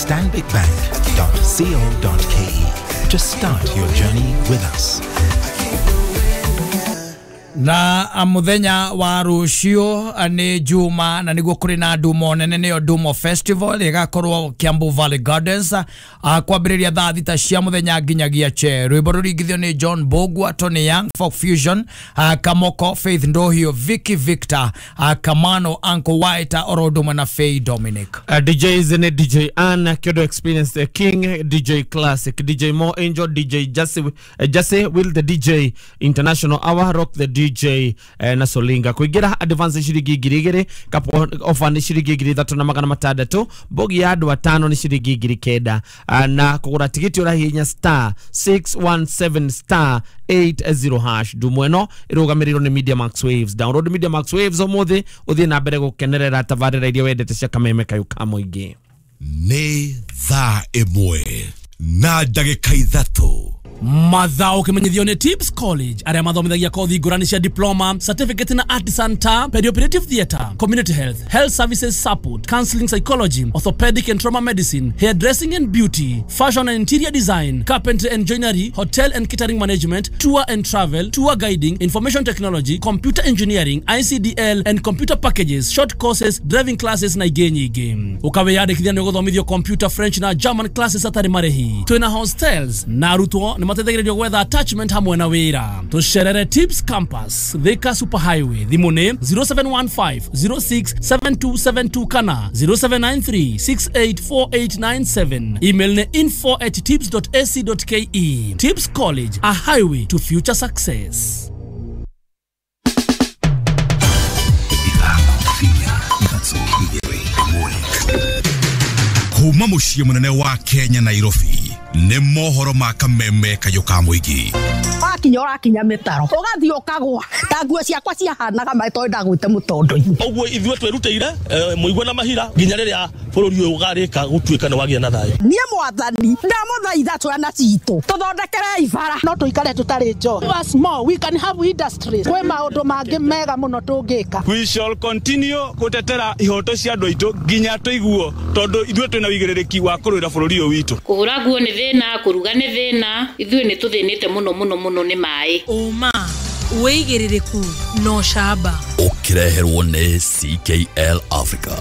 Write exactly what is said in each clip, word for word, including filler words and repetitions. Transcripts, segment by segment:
stanbic bank dot co dot k e to start your journey with us. Na muthenya wa rucio ni Juma na niguo kuri na ndumo nene niyo Ndumo Festival igakorwo Kiambu Valley Gardens kwambiriria thaa thita cia muthenya nginyagia che. Rwimbo ruringithio ni John Bogwa, Tony Young, Folk Fusion, Kamoko, Faith Ndohio, Vicky Victor, Kamano, Uncle White, Oroduma na Faye Dominic. Uh, D Js ni D J Ann, Kyodo Experience the King, D J Classic, D J Mo Angel, D J Jesse, uh, Jesse Will the D J International Hour, Rock the D J eh, na Solinga. Kuingira advance shiringi ngiri igiri, kapo offer ni shiringi ngiri ithatu na magana matandatu, bogi ya andu atano ni shiringi ngiri kenda, na kugura tigiti urahihinya star six one seven star eight zero hash. Ndumo ĩno ĩrũgamĩrĩirwo nĩ Media Max Waves. Download Media Max Waves ũmũthĩ ũthiĩ na mbere gũkenerera tabarĩra iria wendete cia Kameme Kayũ ka Mũingĩ. Nĩ thaa ĩmwe na ndagĩka ithatũ. Mathao kimenyithio ni Tips College aria mathomithagia kothi ngurani cia diploma, certificate na artisan ta perioperative theatre, community health, health services support, counseling psychology, orthopedic and trauma medicine, hairdressing and beauty, fashion and interior design, carpentry and joinery, hotel and catering management, tour and travel, tour guiding, information technology, computer engineering, I C D L and computer packages, short courses, driving classes na ingĩ nyingĩ. Ukawiyandĩkithia nĩ ũgũthomithio computer, French na German classes atarĩ marĩhi. Twĩna hostels na arutwo nĩ mateithagĩrĩrio gwetha attachment hamwe na wĩra. Tũcerere Tips Campus, Thika Super Highway. Thimũ nĩ zero seven one five zero six seven two seven two kana zero seven nine three six eight four eight nine seven. Email nĩ info at tips dot a c dot k e. Tips College, a highway to future success. Kuma muciĩ mũnene wa Kenya Nairobi nĩ mohoro ma Kameme Kayũ ka Mũingĩ. Wakinya ũrakinya mĩtaro ũgathiĩ ũkagwa ta nguo ciakwa ciahanaga maĩ tondũ ndagwĩte mũtondo-inĩ. Ũguo ithuĩ twĩrutĩire mũigua na mahira nginya rĩrĩa bũrũri ũyũ ũgarĩka gũtuĩka nĩ wagĩa na thayũ. Niĩ mwathani ndamũthaitha twana citũ tũthondekerei bara no tũikare tũtarĩ njohi. Us more we can have industries. Kwĩ maũndũ mangĩ mega mũno tũngĩka. We shall continue gũtetera ihoto cia andũ aitũ nginya tũiguo tondũ ithuĩ twĩna wĩigĩrĩrĩki wa kũrũĩra bũrũri ũyũ witũ. Kũhũra nguo nĩ thĩna, kũruga nĩ thĩna, ithuĩ nĩ tũthĩnĩte mũno mũno mũno nĩ maĩ. Ũma wĩigĩrĩrĩku no camba. Ũkĩreherwo nĩ C K L Africa.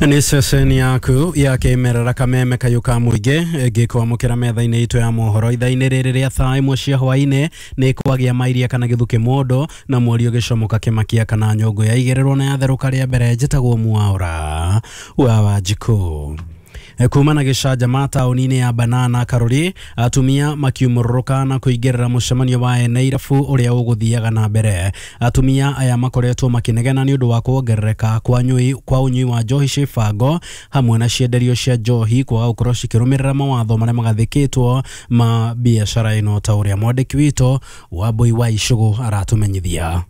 Nĩ ceceni yaku ya kĩmerera Kameme Kayũ ka Mũingĩ ngĩkwamũkĩra metha-inĩ itũ ya mohoro ithaa-inĩ rĩrĩ rĩa thaa ĩmwe cia hwaĩ-inĩ nĩ kwagĩa mairia kana gĩthukĩ mũndũ na mweri ũgĩcomoka kĩmakia kana nyũngũ yaigĩrĩrwo na yatherũka rĩa mbere. Njĩtagwo Mwaura wa Wanjikũ. Kuma na gĩcanjama taũni-inĩ ya Banana Karuri, atumia makiumũrũrũka na kũingĩrĩra mũcemanio wa ene irabu ũrĩa ũgũthiaga na mbere. Atumia aya makoretwo makĩnegena nĩ ũndũ wa kuongerereka kwa nyui kwa ũnyui wa njohi ciĩbango hamwe na cienderio cia njohi kwaga gũkorwo cikĩrũmĩrĩra mawatho marĩa magathĩkĩtwo ma biacara ĩno ta ũrĩa mwandĩki witũ Wambui wa Icũgũ aratũmenyithia.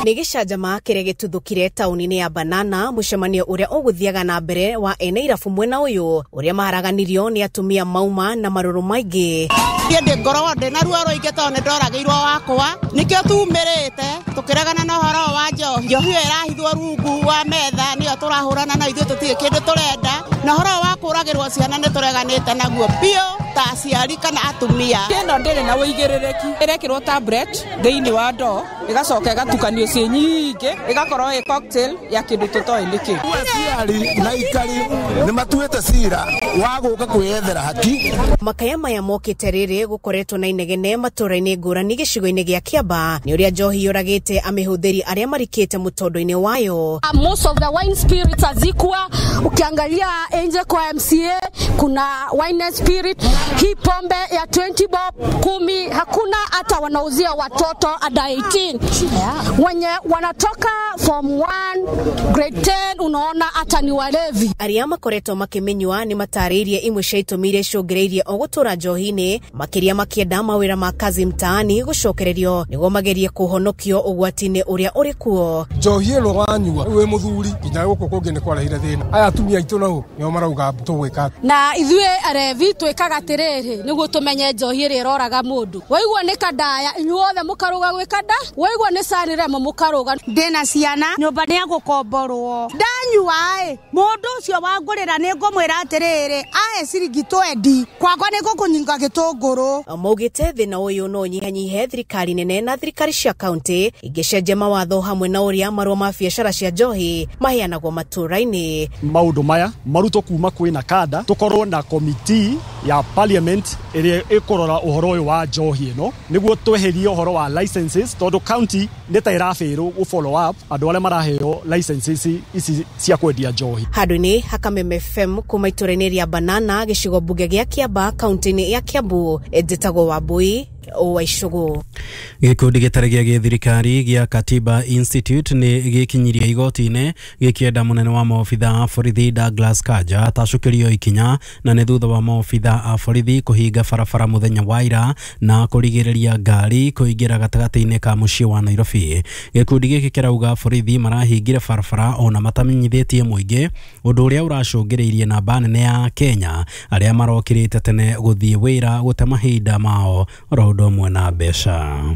Nĩ gĩcanjama kĩrĩa gĩtuthũkire taũni-inĩ ya Banana mũcemanio ũrĩa ũgũthiaga na mbere wa ene irabu mwena ũyũ ũrĩa maharaganirio nĩ atumia mauma na marũrũ maingĩ. Niĩ ndĩ ngoragwo ndĩ na ruo rũingĩ tondũ nĩ ndoragĩirwo wakwa nĩkĩo tumĩrĩte tũkĩregana na ũhoro wa njohi. Njohi ĩyo ĩrahithwo rungu wa metha nĩyo tũrahũrana na ithuĩ tũtirĩ kĩndũ tũrenda na ũhoro wa kũragĩrwo ciana nĩ tũreganĩte naguo biũ ta aciari kana atumia. Ĩno ndĩrĩ na wĩigĩrĩrĩki ĩrekĩrwo tablet thĩinĩ wa ndoo ĩgacoka ĩgatukanio ciĩ nyingĩ ĩgakorwo ĩ cocktail ya kĩndũ tũtoĩ nĩkĩ. Aciari na aikari nĩ matuĩte cira wa gũka kwĩyethera haki. Makaya maya mokĩte rĩrĩ gũkoretwo na inegene matũra-inĩ ngũrani gĩcigo-inĩ gĩa Kĩamba nĩ ũrĩa njohi yũragĩte amĩhũthĩri arĩa marikĩte mũtondo-inĩ wayo. Most of the wine spirits hazikuwa, ukiangalia nje kwa M C A kuna wine and spirit. Hii pombe ya twenty bob kumi hakuna hata wanauzia watoto under eighteen. Wenye wanatoka form one grade ten unaona hata ni walevi. Arĩa makoretwo makĩmenywa nĩ matarĩirie imwe cia itũmi iria icũngĩrĩirie o gũtũra njohi-inĩ makĩria makĩenda mawĩra ma kazi mtaani gũcokererio nĩguo magerie kũhonokio ũgwati-inĩ ũrĩa ũrĩ kuo. Njohi ĩno wanyua wĩ mũthuri nginya gũkũ kũngĩ nĩ kwarehire thĩna. Aya atumia aitũ nao nĩo marauga tũgwĩka. Na Na ithuĩ arevi twĩkaga atĩrĩrĩ nĩguo tũmenye njohi ĩrĩa ĩroraga mũndũ. Waigua nĩ kandaya inyuothe mũkarũga gwĩ kanda, waigua nĩ Sanremo mũkarũga. Ndĩna ciana nyũmba nĩ egũkomborwo, ndanyua ĩ mũndũ ũcio wangũrĩra nĩ ngũmwĩra atĩrĩrĩ ahe ciringi twendi kwakwa nĩ ngũkũnyinga gĩtũngũrũ. Maugĩte thĩna ũyũ no ũnyihanyihe thirikari nene na thirikari cia kaunti ingĩcenjia mawatho hamwe na ũrĩa marũa ma biacara cia njohi maheanagwo matũũra-inĩ. Maũndũ maya marutwo kuma kwĩna kanda, tũkorwo na komiti ya parliament ĩrĩa ĩkũrora ũhoro ũyũ wa njohi ĩno nĩguo tweherie ũhoro wa licenses, tondũ county nĩ ta ĩrabĩrwo gũ follow up andũ arĩa maraheo licenses ici cia kwendia njohi. Handũ-inĩ ha Kameme F M kuma itũũra-inĩ rĩa Banana gĩcigo mbunge gĩa Kiambaa kaunti-inĩ ya Kiambu, njĩtagwo Wambui wa Icũgũ. Gĩkundi gĩtarĩ gĩa gĩthirikari gĩa Katiba Institute nĩ gĩkinyirie igoti-inĩ gĩkĩenda mũnene wa maobitha a borithi Douglas Kanja atacũkĩrio ikinya, na nĩ thutha wa maobitha a borithi kũhinga barabara mũthenya wa ira na kũrigĩrĩria ngari kũingĩra gatagatĩ-inĩ ka mũciĩ wa Nairobi. Gĩkundi gĩkĩ kĩrauga borithi marahingire barabara ona matamenyithĩtie mũingĩ, ũndũ ũrĩa ũracũngĩrĩirie namba nene ya Kenya arĩa marokĩrĩte tene gũthiĩ wĩra gũte mahinda mao oro ũndũ ũmwe na mbeca.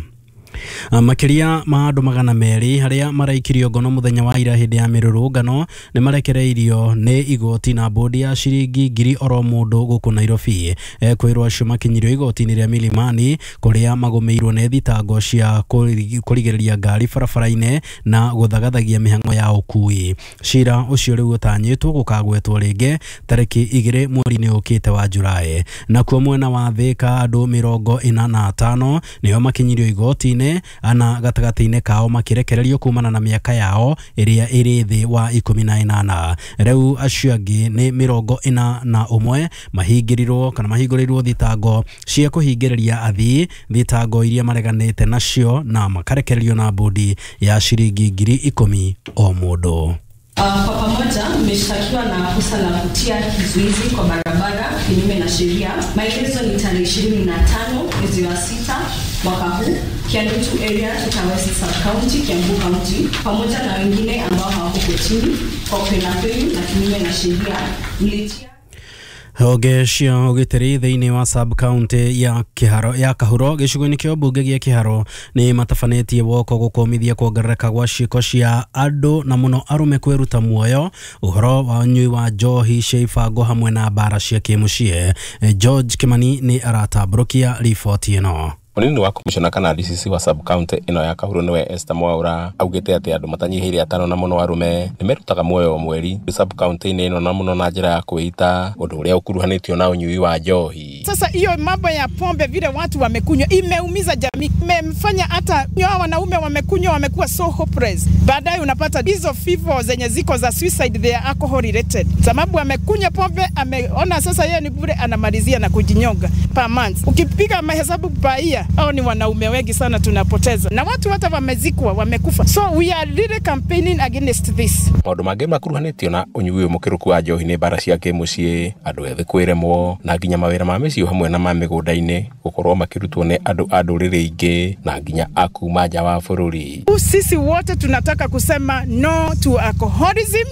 Makĩria ma andũ magana merĩ arĩa maraikirio ngono mũthenya wa ira hĩndĩ ya mĩrũrũngano nĩ marekereirio nĩ igoti na bodi ya ciringi ngiri oro mũndũ gũkũ Nairobi. Kwĩrwo acio makinyirio igoti-inĩ rĩa Milimani kũrĩa magũmĩirwo nĩ thitango cia kũrigĩrĩria ngari barabara-inĩ na gũthagathagia mĩhang'o ya ũkui. Cira ũcio rĩu ũtanyĩtwo gũkagwetwo rĩngĩ tarĩki igĩrĩ mweri-inĩ ũkĩte wa Julaĩ. Nakuo mwena wa Thika andũ mĩrongo ĩna na atano nĩo makinyirio igoti-inĩ, ana gatagatĩ-inĩ kao makirekererio kumana na mĩaka yao ĩrĩa ĩrĩ thĩ wa ikũmi na ĩnana. Rĩu acio angĩ nĩ mĩrongo ĩna na ũmwe mahingĩrirwo kana mahingũrĩirwo thitango cia kũhingĩrĩria athii, thitango iria mareganĩte nacio na makarekererio na bodi ya ciringi ngiri ikũmi o mũndũ. Uh, kwa pamoja mmeshtakiwa na kosa la kutia kizuizi kwa barabara kinyume na sheria. Maelezo ni tarehe ishirini na tano mwezi wa sita mwaka huu, Kiandutu area, Thika West Sub County, Kiambu County, pamoja na wengine ambao hawako kotini kwa kupenda kwenu na kinyume na sheria mlitia Honge cia ũgitĩri thĩinĩ wa sub county ya Kiharo ya Kahuro gĩcigo-inĩ kĩa ũmbunge gĩa Kiharo nĩ matabanĩtie woko gũkũmithia kuongerereka gwa ciĩko cia andũ na mũno arũme kwĩruta muoyo, ũhoro wa ũnyui wa njohi cia ibango hamwe na mbara cia kĩmũciĩ. George Kimani nĩ aratambũrũkia riboti ĩno. Munini wa komishona kana D C C wa sub county ĩno ya Kahuro nĩwe Esther Mwaura augĩte atĩ andũ matanyihĩire atano na mũno arũme nĩmerutaga muoyo o mweri sub county-inĩ ĩno na mũno na njĩra ya kwĩita, ũndũ ũrĩa ũkuruhanĩtio na ũnyui wa njohi. Sasa hiyo mambo ya pombe vile watu wamekunywa imeumiza jamii, imemfanya hata hao wanaume wamekunywa wamekuwa so hopeless. Baadaye unapata hizo vifo zenye ziko za suicide, they are alcohol related, sababu amekunywa pombe, ameona sasa yeye ni bure, anamalizia na kujinyonga per month. Ukipiga mahesabu per year, hao ni wanaume wengi sana tunapoteza, na watu hata wamezikwa wamekufa. So we are really campaigning against this. Maũndũ mangĩ makuruhanĩtio na ũnyui mũkĩrũku wa njohi nĩ mbara cia kĩmũciĩ, andũ ethĩ kwĩremwo na nginya mawĩra ma mĩciĩ hamwe na ma mĩgũnda-inĩ gũkorwo makĩrutwo nĩ andũ a ndũrĩrĩ ingĩ na nginya a kuma nja wa bũrũri. Sisi wote tunataka kusema no to alcoholism,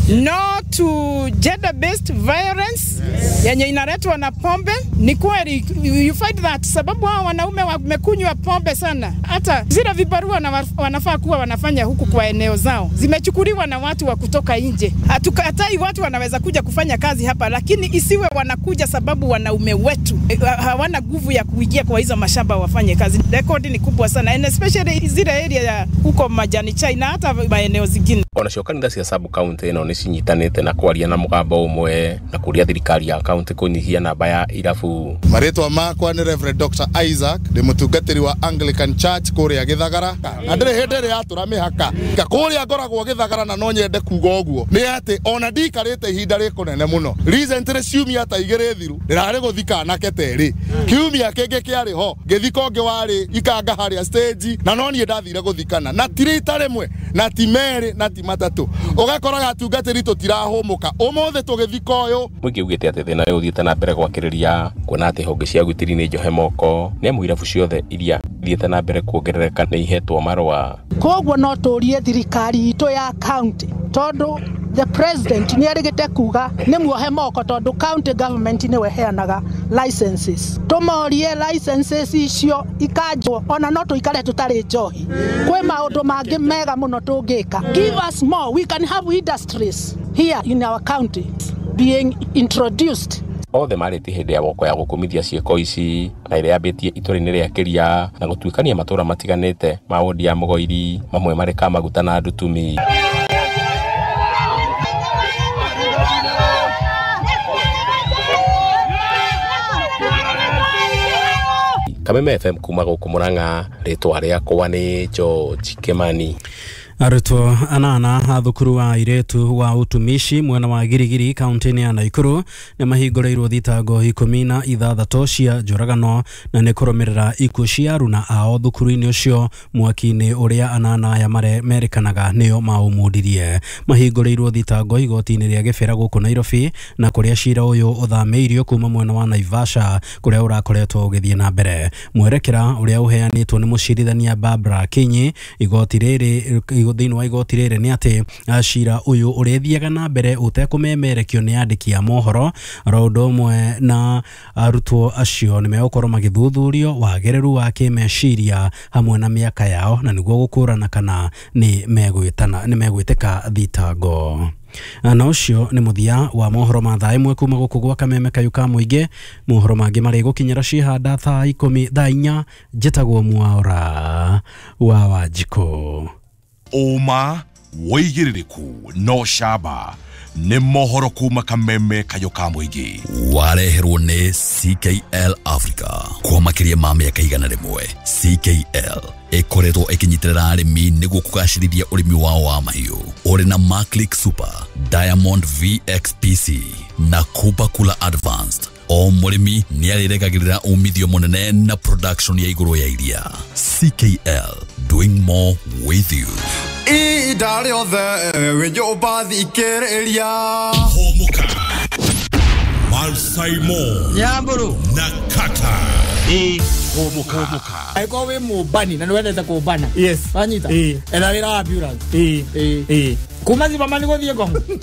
no to gender based violence yenye inaletwa na pombe. Ni kweli you find that sababu hao wanaume wamekunywa pombe sana, hata zile vibarua na wanafaa kuwa wanafanya huku kwa eneo zao zimechukuliwa na watu wa kutoka nje. Hatukatai watu wanaweza kuja kufanya kazi hapa, lakini isiwe wanakuja sababu wanaume wetu hawana nguvu ya kuingia kwa hizo mashamba wafanye kazi. Rekodi ni kubwa sana, and especially zile area ya huko Majani Chai na hata maeneo zingine. Onacio kanitha cia sub county ĩno nĩ cinyitanĩte na kwaria na mũgambo ũmwe na kũria thirikari ya county kũnyihia namba ya irabu. Marĩtwa makwa nĩ Reverend Doctor Isaac, ndĩ mũtungatĩri wa Anglican Church kũrĩa Gĩthagara, na ndĩrĩ hĩndĩ ĩrĩa yatũra mĩhaka kũrĩa ngoragwo Gĩthagara, na no nyende kuga ũguo nĩ atĩ ona ndikarĩte ihinda rĩkũnene mũno. Recently ciumia ta igĩrĩ thiru ndĩrarĩ gũthika anake terĩ, kiumia kĩngĩ kĩarĩ ho ngĩthika ũngĩ warĩ ikanga harĩa stage, na no niĩ ndathire gũthikana na ti rita rĩmwe na ti merĩ na ti matatũ. Ũgakoraga atungatĩri tũtirahũmũka ũmũthĩ tũgĩthika ũyũ. Mũingĩ ugĩte atĩ thĩna ũyũ ũthiĩte na mbere gwakĩrĩria kuona atĩ honge cia ũgitĩri nĩ njohe moko nĩ amu irabu ciothe iria ithiĩte na mbere kuongerereka nĩ ihetwo marũa. Koguo no tũrie thirikari itũ ya county, tondũ The president nĩ erĩgĩte kuga nĩ muohe moko tondũ county government nĩwe ĩheanaga licenses. Tũmorie licenses icio ikanjwo ona no tũikare tũtarĩ njohi. Kwĩ maũndũ mangĩ mega mũno tũngĩka. Give us more. We can have industries here in our county being introduced. Othe marĩtie hĩndĩ ya woko ya gũkũmithia ciĩko ici na ĩrĩa yambĩtie itũra-inĩ rĩa Kĩria na gũtuĩkania matũra matiganĩte ma wodi ya Mũgoiri, mamwe marĩ Kamaguta na Ndutumi. Kameme F M kuma gũkũ Murang'a, rĩtwa rĩakwa nĩ George Kimani. Arutwo anana a thukuru wa airĩtu wa utumishi mwena wa Girigiri kaunti-inĩ ya Naikuru nĩ mahingũrĩirwo thitango ikũmi na ithathatũ cia njũragano na nĩ kũrũmĩrĩra ikuũ cia aruna ao thukuru-inĩ ũcio mwaki-inĩ ũrĩa anana aya merĩkanaga nĩo maũmundirie. Mahingũrĩirwo thitango igoti-inĩ rĩa Gĩbĩra gũkũ Nairobi na kũrĩa cira ũyũ ũthamĩirio kuma mwena wa Naivasha kũrĩa ũrakoretwo ũgĩthiĩ na mbere. Mwerekera ũrĩa ũheanĩtwo nĩ mũcirithania Barbara Kinyi igoti rĩrĩ thĩinĩ wa igoti rĩrĩ nĩ atĩ cira ũyũ ũrĩthiaga na mbere ũtekũmemerekio nĩ andĩki a mohoro oro ũndũ ũmwe na arutwo acio nĩ megũkorwo magĩthuthurio wagĩrĩru wa kĩmeciria hamwe na mĩaka yao na nĩguo gũkũrana kana nĩ megwĩtana nĩ megwĩtĩka thitango. Na ũcio nĩ mũthia wa mohoro ma thaa ĩmwe kuma gũkũ gwa Kameme Kayũ ka Mũingĩ. Mohoro mangĩ marĩgũkinyĩra cihanda thaa ikũmi thaa inya. Njĩtagwo Mwaura wa Wanjikũ. Ũma wĩigĩrĩrĩku no camba nĩ mohoro kuma Kameme Kayũ ka Mũingĩ. Wareherwo nĩ C K L Africa kwa makĩria ma mĩaka igana rĩmwe. C K L ĩkoretwo ĩkĩnyitĩrĩra arĩmi nĩguo kũgacĩrithia ũrĩmi wao wa mahiũ. Ũrĩ na Maclick Super, Diamond V X P C na Kuba Kula Advanced. O mũrĩmi nĩ arĩregagĩrĩra umithio mũnene na production ya igũrũ ya iria. C K L, doing more with you. Ihinda rĩothe wĩ nyũmba thikĩrĩria. Hũmũka Malsaimo Nyamburu na Kata. Hũmũka. Angĩkorwo wĩ mũmbani na nĩ wendete kũmbana. Yes. Wanyita? Ĩĩ. Etha wĩra wa ambulance. Ĩĩ. Ĩĩ. Kuma Zimmerman gũthiĩ Ngong.